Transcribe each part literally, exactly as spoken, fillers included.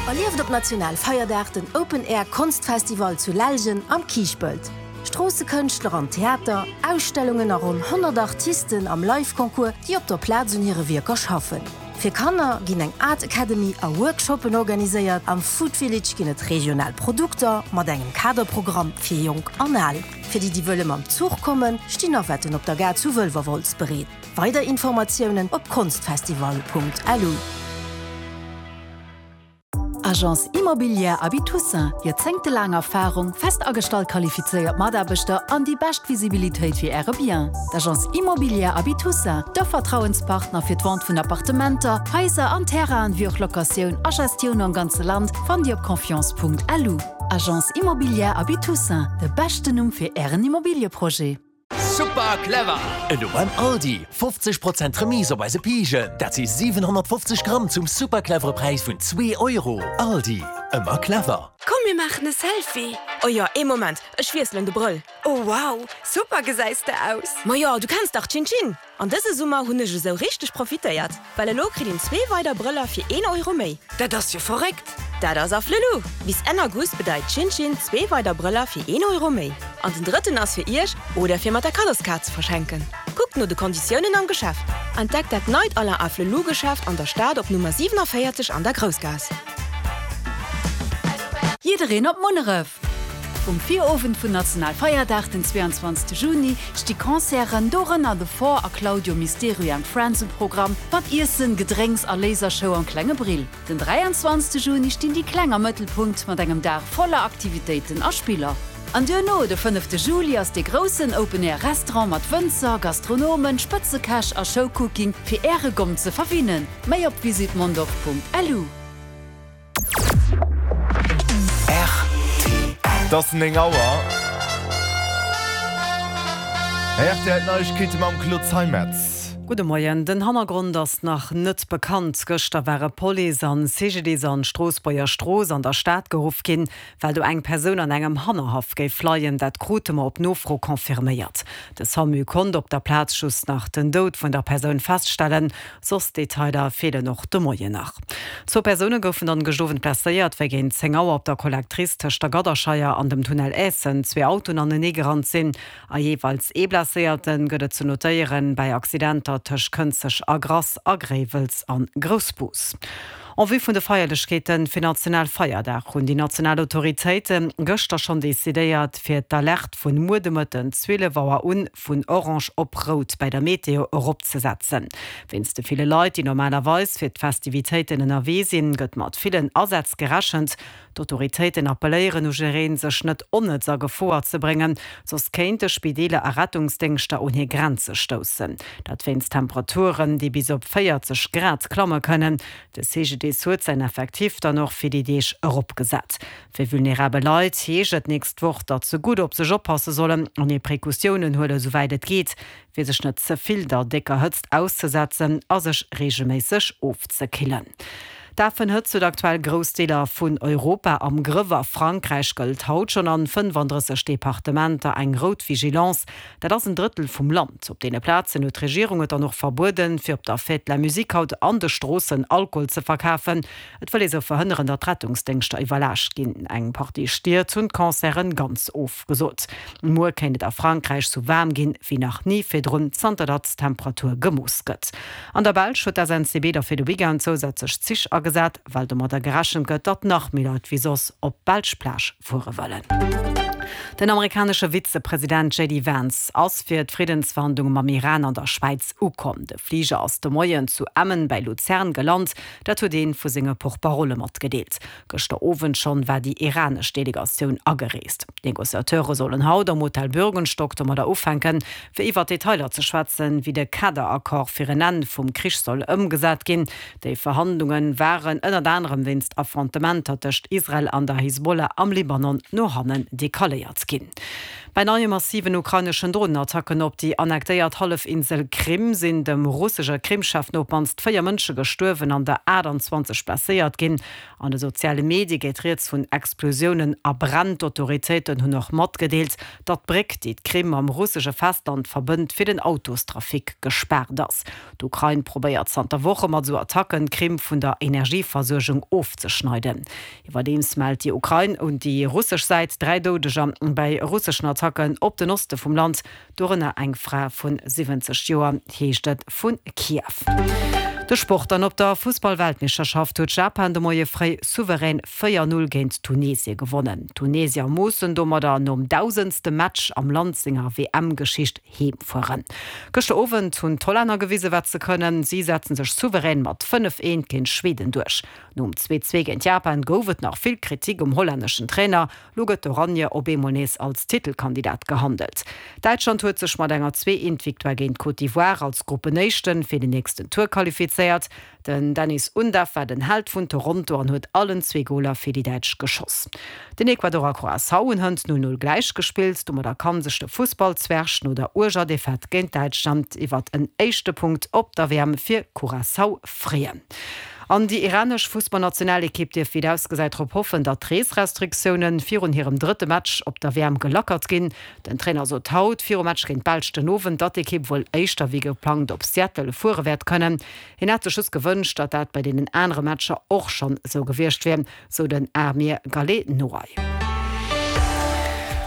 Erlieft op Nationalfeierdag den Open Air Konstfestival zu Lellgen am Kiischpelt. Stroossekënschtler an Theater, Ausstellungen a ronn honnert Artisten am Live-Concours, déi op der Plaz un hire Wierker schaffen. Fir Kanner ginn eng Art Academy a Workshoppen organiséiert, am Food Village ginn et regional Produkter mat engem Kaderprogramm fir Jonk an Al. Fir déi, déi wëlle mam Zuch kommen, stinn Navetten op der Gare zu Wëlwerwolz bereet. Weider Informatiounen op konstfestival Punkt lu. Agence Immobilière Aby Toussaint, joerzéngtelaang Erfarung, fest agestallt qualifizéiert Mataarbechter an déi bescht Visibilitéit fir Äre Bien. D'Agence Immobilière Aby Toussaint, de Vertrauenspartner fir d'Vente vun Appartementer, Haiser an Terrainen, wéi och Locatioun a Gestioun am ganze Land, fannt Dir op confiance Punkt lu. Agence Immobilière Aby Toussaint, de beschten Numm fir Ären Immobilieprojet. Super clever! Elo beim Aldi! fofzeg Prozent Remise op eise Pijen! Dat si siwenhonnertfofzeg Gramm zum super clevere Präis vun zwee Euro! Aldi, ëmmer clever! Komm mir maachen e Selfie! Oh jo, ee Moment, ech wiesselen de Brëll. Oh wow, super gesäis de aus! Ma jo, du kenns dach Chin Chin! An dëse Summer hunn ech esou richteg profitéiert, well elo kritt een zwee weider Brëller fir een Euro méi. Dat ass jo verréckt! Dat ass Afflelou! Bis Enn August bedeit Chin Chin zwee weider Brëller fir een Euro méi. An den drëtten ass fir iech oder fir mat der Kaddoskaart ze verschenken. Kuckt no de Konditiounen am Geschäft. Entdeckt dat neit Alain Afflelou Geschäft an der Stad op Nummer siewenundvierzig an der Groussgaass. Jiddereen op Munneref! Um Virowend vun Nationalfeierdag den zweeanzwanzegste Juni sti Concerten, dorënner The Four a Claudio Misterio and Friends um Programm, mat Iessen, Gedrénks a Lasershow am Klenge Brill. Den dräianzwanzegste Juni stinn déi Kleng am Mëttelpunkt mat engem Dag voller Aktivitéiten a Spiller. An duerno de fënnefte Juli ass de groussen Open-Air Restaurant mat Wënzer, Gastronomen, Spëtzekäch a Showcooking fir äre Gomm ze verwinnen. Méi op visitmondorf Punkt lu. Et ass néng Auer. R T L Neiegkeete mam Claude Zeimetz. Gudde Moien. Den Hannergrond ass nach net bekannt. Gëschter ware Police an C G D I S an d'Stroossbuerger Strooss an der Stad geruff ginn, well do eng Persoun an engem Hannerhaff géif leien. Dat krute mer op Nofro confirméiert. De SAMU konnt op der Plaz just nach den Doud vun der Persoun feststellen, soss Detailer feelen och de Moien nach. Zwou Persoune goufen dann gëschter Owend blesséiert, wéi géint zéng Auer op der Collectrice tëscht der Gadderscheier an dem Tunnel Eessen zwee Autoen aneneegerannt sinn. A jeeweils ee Blesséierte gëtt et ze notéieren bei Accidenter tëscht Kënzeg a Grass a Gréiwels an Groussbus. En vue vun de Feierlechkeete fir Nationalfeierdag hunn déi national Autoritéite gëschter schonn decidéiert, fir d'Alerte vun muer de Mëtten zwielef Auer un vun orange op rout bei der Meteo eropzesetzen. Wéinst de ville Leit, déi normalerweis fir d'Festivitéiten ënnerwee sinn, gëtt mat villen Asätz gerechent. D'Autoritéiten appelléieren u jiddereen, sech net onnëtz a Gefor ze bréngen, soss kéinte Spideeler a Rettungsdéngschter un hir Grenze stoussen. Dat wéinst Temperaturen, déi bis op véierzeg Grad klamme kënnen. De C G D I S huet säin Effektiv dann och fir déi Deeg eropgesat. Fir vulnerabel Leit heescht et d'nächst Woch, datt se gutt op sech oppasse sollen an hir Precautiounen huelen, souwäit et geet, fir sech net ze vill der décker Hëtzt auszesetzen a sech reegelméisseg ofzekillen. D'Afenhëtzt huet aktuell grouss Deeler vun Europa am Grëff. A Frankräich gëllt haut schonn an fënnefandrësseg Departementer eng rout Vigilance. Dat ass en Drëttel vum Land. Op deene Plazen huet d'Regierung et dann och verbueden, fir op der Fête de la Musique haut an de Stroossen Alkohol ze verkafen. Et wëll ee sou verhënneren, datt d'Rettungsdéngschter iwwerlaascht ginn. Eng Partie Stied hunn d'Concerten ganz ofgesot. Muer kéint et a Frankräich sou waarm ginn, wéi nach ni virdrun, zanter datt d'Temperatur gemooss gëtt. An der Belsch huet d'S N C B da fir de Weekend zousätzlech Zich agesat, well domadder gerechent gëtt, datt nach méi Leit wéi soss op d'belsch Plage fuere wëllen. Den amerikanesche Vizepresident J D Vance ass fir d'Friddensverhandlunge mam Iran an der Schwäiz ukomm. De Fliger ass de Moien zu Emmen bei Luzern gelant, dat huet ee vu senge Porte-parole matgedeelt. Gëschter Owend schonn war déi iranesch Delegatioun agereest. D'Negociateure sollen haut am Hotel Bürgenstock domadder ufänken, fir iwwer Detailer ze schwätzen, wéi de Kaderaccord fir en Enn vum Krich soll ëmgesat ginn. Déi Verhandlunge waren ënnert anerem wéinst Affrontementer tëscht Israel an der Hisbollah am Libanon no hannen decaléiert ginn. Bei neie massiven ukraineschen Dronenattacken op déi annektéiert Hallefinsel Krim sinn dem russesche Krim-Chef no op d'mannst véier Mënsche gestuerwen an der aachtanzwanzeg blesséiert ginn. An de soziale Medie geet rieds vun Explosiounen a Bränn. D'Autoritéiten hunn och matgedeelt, datt d'Bréck, déi d'Krim mam russesche Festland verbënnt, fir den Autostrafic gespaart ass. D'Ukrain probéiert zanter Woche mat esou Attacken, d'Krim vun der Energieversuergung ofzeschneiden. Iwwerdeems mellt déi Ukrain un déi russesch Säit dräi Doudeger bäi russeschen Attacken op den Oste vum Land, dorënner eng Fra vu siwwenzeg Joer, heescht et vu Kiew. De Sport dann, Op der Fussball-Weltmeeschterschaft huet Japan de Moie fréi souverän véier Null géint Tunesie gewonnen. D'Tunesier mussen domadder nom dausendste Match am Land senger W M-Geschicht heem fueren. Gëschter Owend hunn d'Hollänner gewise wat se kënnen, si setzen sech souverän mat fënnef eent géint Schweden duerch. Nom zwee zwee géint Japan gouf et nach vill Kritik um hollänneschen Trainer, lo gëtt d'Oranje op eemol nees als Titelkandidat gehandelt. Däitschland huet sech mat enger zwee eent Victoire géint d'Côte d'Ivoire als Gruppenéischten fir den nächsten Tour qualifizéiert. Den Dennis Undav war den Held vun Toronto an huet allen zwee Goler fir déi Däitsch geschoss. Den Ecuador a Curaçao hunn hënt null null gläichgespillt, domadder kann sech de Fussballzwerg no der uerger Defaite géint Däitschland iwwert en éischte Punkt op der W M fir Curaçao freeën. An déi iranesch Fussballnationalekipp dierf wéi et ausgesäit drop hoffen, datt d'Reesrestriktioune virun hirem drëtte Match op der W M gelackert ginn. Den Trainer sot haut virum Match géint d'Belsch den Owend, datt d'Ekipp wuel éischter wéi geplangt op Seattle fuere wäert kënnen. Hien hätt sech just gewënscht, datt dat bei deenen anere Matcher och schonn esou gewiescht wier, sou den Amir Ghalenoei.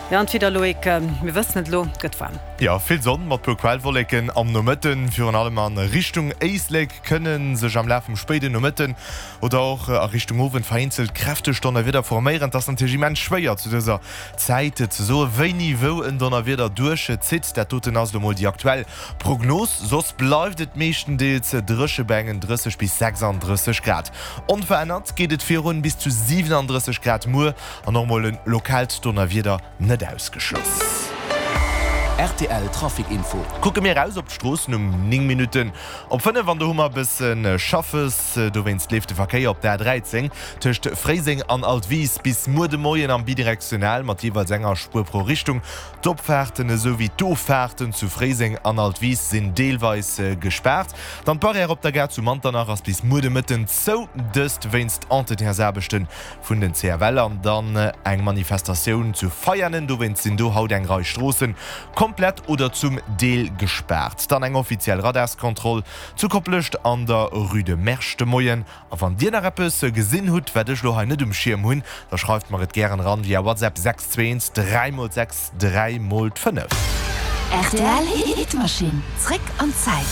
Jo, an d'Wieder, Loïc, mir wëssen et elo, gëtt waarm. Jo, vill Sonn mat puer Quellwolleken am Nomëtten. Virun allem a Richtung Éislek kënne sech am Laf vum spéiden Nomëtten oder och a Richtung Owend vereenzelt kräfteg Donnerwieder forméieren. Et ass natierlech immens schwéier zu dëser Zäit ze soen, wéini wou en Donnerwieder duerchzitt. Dat doten ass elo mol déi aktuell Prognos. Soss bleift et meeschtendeels dréche bei engen drësseg bis sechsandrësseg Grad. Onverännert geet et virun bis zu siwenandrësseg Grad muer an och mol e lokaalt Donnerwieder net ausgeschloss. R T L Trafic Info. Kucke mir eraus op d'Stroossen um néng Minutten op fënnef an do hu mer e bësse Schaffes. Dowéinst leeft de Verkéier op der A dräizéng tëscht Fréiseng an Altwis bis muer de Moien am bidirektional mat jeeweils enger Spuer pro Richtung. D'Opfaarten esou wéi d'Offaarten zu Fréiseng an Altwis sinn deelweis gespaart. Dann d'Barrière op der Gare zu Manternach ass bis muer de Mëtten zou, dëst wéinst Entretiensaarbechte vun den C F L. An dann eng Manifestatioun zu Veianen, dowéinst sinn do haut eng Rei Stroosse komplett oder zum Deel gespaart. Dann eng offiziell Radarskontroll zu Koplescht an der Rue de Mersch de Moien. A wann Dir nach eppes gesinn hutt, wat ech lo hei net um Schierm hunn, da schreift mer et gären eran via WhatsApp sechs zwee eent dräi mol sechs dräi mol fënnef. R T L Hitmaschinn, zréck an d'Zäit.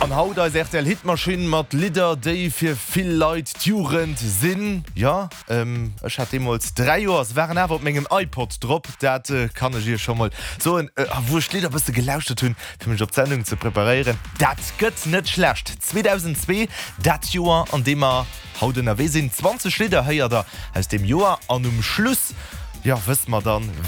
An haut eis R T L Hitmaschinn mat Lidder, déi fir vill Leit d'Jugend sinn. Jo, ech hat deemools dräi Joer, se waren awer op mengem iPod drop, dat kann ech iech scho mol soen. A wou ech d'Lidder e bësse gelauschtert hunn, fir mech op d'Sendung ze preparéieren, dat gëtt net schlecht. zweedausendzwee, dat Joer, an deem mer haut ënnerwee sinn. zwanzeg Lidder héiert der aus deem Joer an um Schluss, jo, wësse mer dann,